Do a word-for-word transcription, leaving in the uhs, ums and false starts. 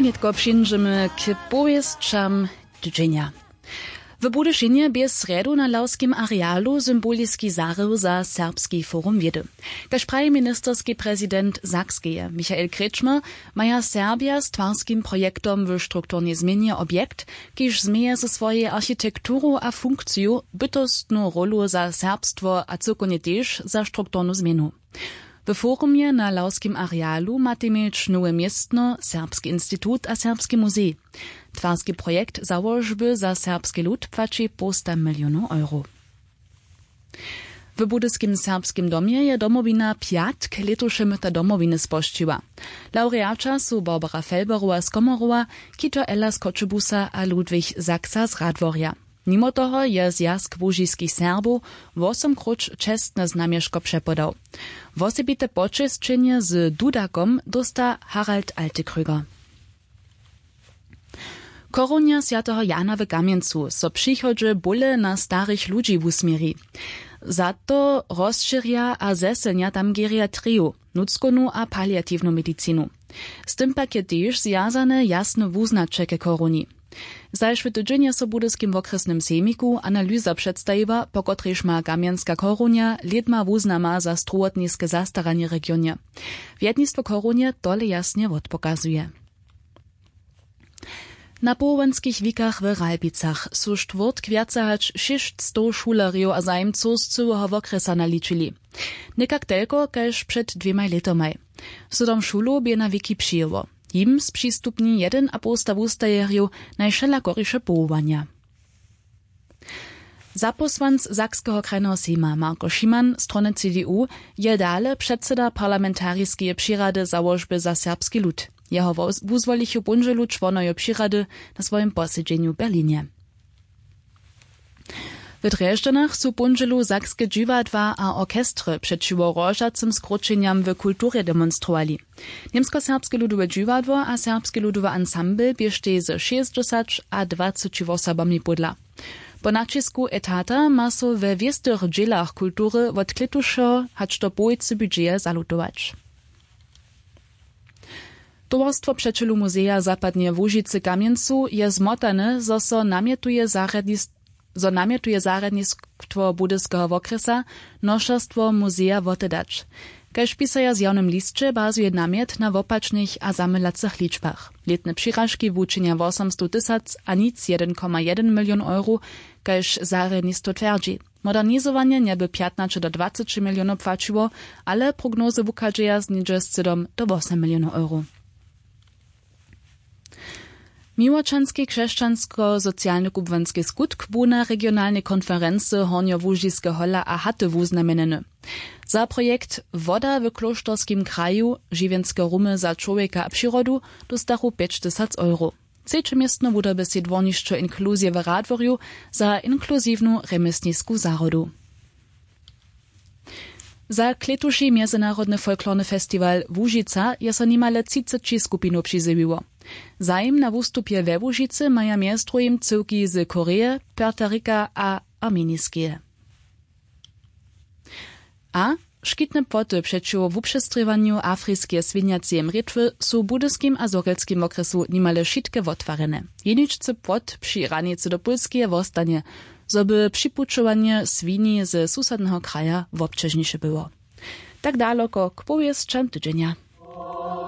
Nětko přińdźemy k powěsćam tydźenja. W budyšinje bě srjedu na lawskim arealu symboliski zahrył za serbski forum wědy. Kaž praji ministerski prezident sakskeje michael kretschmer, maja serbja z twarskim projektom w strukturnej změnje objekt, kiž změje ze swojej architekturu a funkciju bytostnu rólu za serbstwo a cyłkownje tež za strukturnu změnu. W forumje na lawskim arealu matej měć nowe městno, serbski institut a serbski muzej. Twarski projekt załožby za serbski lud płaći połsta milionow euro. W budyskim serbskim domje je domowina pjatk lětuše myta domowiny spožčiła. Lawreaća su barbara felberowa z komorowa, kito ella z choćebusa a ludwig saksa z radworja. Nimo toho je zwjazk łužiskich serbow wosomkróć čestne znamješko přepodał. Wosebite počesćenje z dudakom dósta harald altekröger. Chorunja swjateho jana w kamjencu so přichodźe bóle na starich ludźi wusměri. Za to rozšěrja a zesylnja tam geriatriju, nutřkownu a paliatiwnu medicinu. Z tym pak je tež zwjazane jasne wuznaće ke chorunji. Zašły tydźeń je so w budyskim wokrjesnym sejmiku analyza předstajiła, po kotrejž ma kamjenska chorunja lědma wuznama za strowotniske zastaranje w regionje. Wjednistwo chorunje tole jasnje wotpokazuje. Na powołanskich wikach w ralbicach su štwórtk wjace hač šěsćstow šulerjow a zajimcow z cyłeho wokrjesa naličili. Někak telko kaž před dwěmaj lětomaj. Sydom šulow bě na wiki přijěło. Jim spřistupni jedynapołsta wustajerjow najwšelakoriše powołanja. Zapósłanc sakskeho krajneho sejma marko šiman strony cdu je dale předseda parlamentariskeje přirady załožby za serbski lud. Jeho wuzwolichu póndźelu čłonojo přirady na swojim posedźenju w berlinje. W drježdźanach su póndźelu sakske dźiwadła a orchestry přećiwo rožacym skróćenjam w kulturje demonstrowali. Němskoserbske ludowe dźiwadło a serbski ludowy ansambl běštej ze šěsćdźesać a dwaceći wosobami pódla. Po naćisku etata ma so we wěstych dźělach kultury wot klětušeho hač do połojcy budźeje zalutować. Towarstwo přećelu muzeja zapadneje łužicy w kamjencu je zmotane zo so namjetuje zarjadnistwo zo namjetuje zarjadnistwo budyskeho wokrjesa nošerstwo muzeja wotedać. Kaž pisaja w zjawnym lisće bazuje namjet na wopačnych a zamylacych ličbach. Lětne přiražki wučinja wosomstow tysac a nic jedyn koma jedyn milion euro kaž zarjadnistwo twjerdźi. Modernizowanje njeby pjatnaće do dwaceći milionow płaćiło, ale prognozy wuchadźeja z něhdźe sydom do wosom milionow euro. Miłočanski křesćansko-socialny kubłanski skutk bu na regionalnej konferency hornjołužiske hola a haty wuznamjenjeny. Za projekt woda w klóšterskim kraju, žiwjenske rumy za čłowjeka a přirodu, dóstachu pjećtysac euro. Třeće městno wuda by sej dwórnišćo inkluzije w radworju za inkluziwnu rjemjesnisku zahrodu. Za klětuši mjezynarodny folklorny festiwal łužica je so nimale třiceći skupinow přizjewiło. Zajim na wustupje we łužicy maja mjez druhim cyłki z koreje, puerto rika a armeniskeje. A škitne płoty přećiwo wupřestrěwanju afriskeje swinjaceje mrětwy su w budyskim a zhorjelskim wokrjesu nimale wšitke wotwarjene. Jeničcy płot při hranicy do pólskeje wostanje, zo by připućowanje swini ze susadneho kraja wobćežniše było. Tak daloko k powěsćam tydźenja.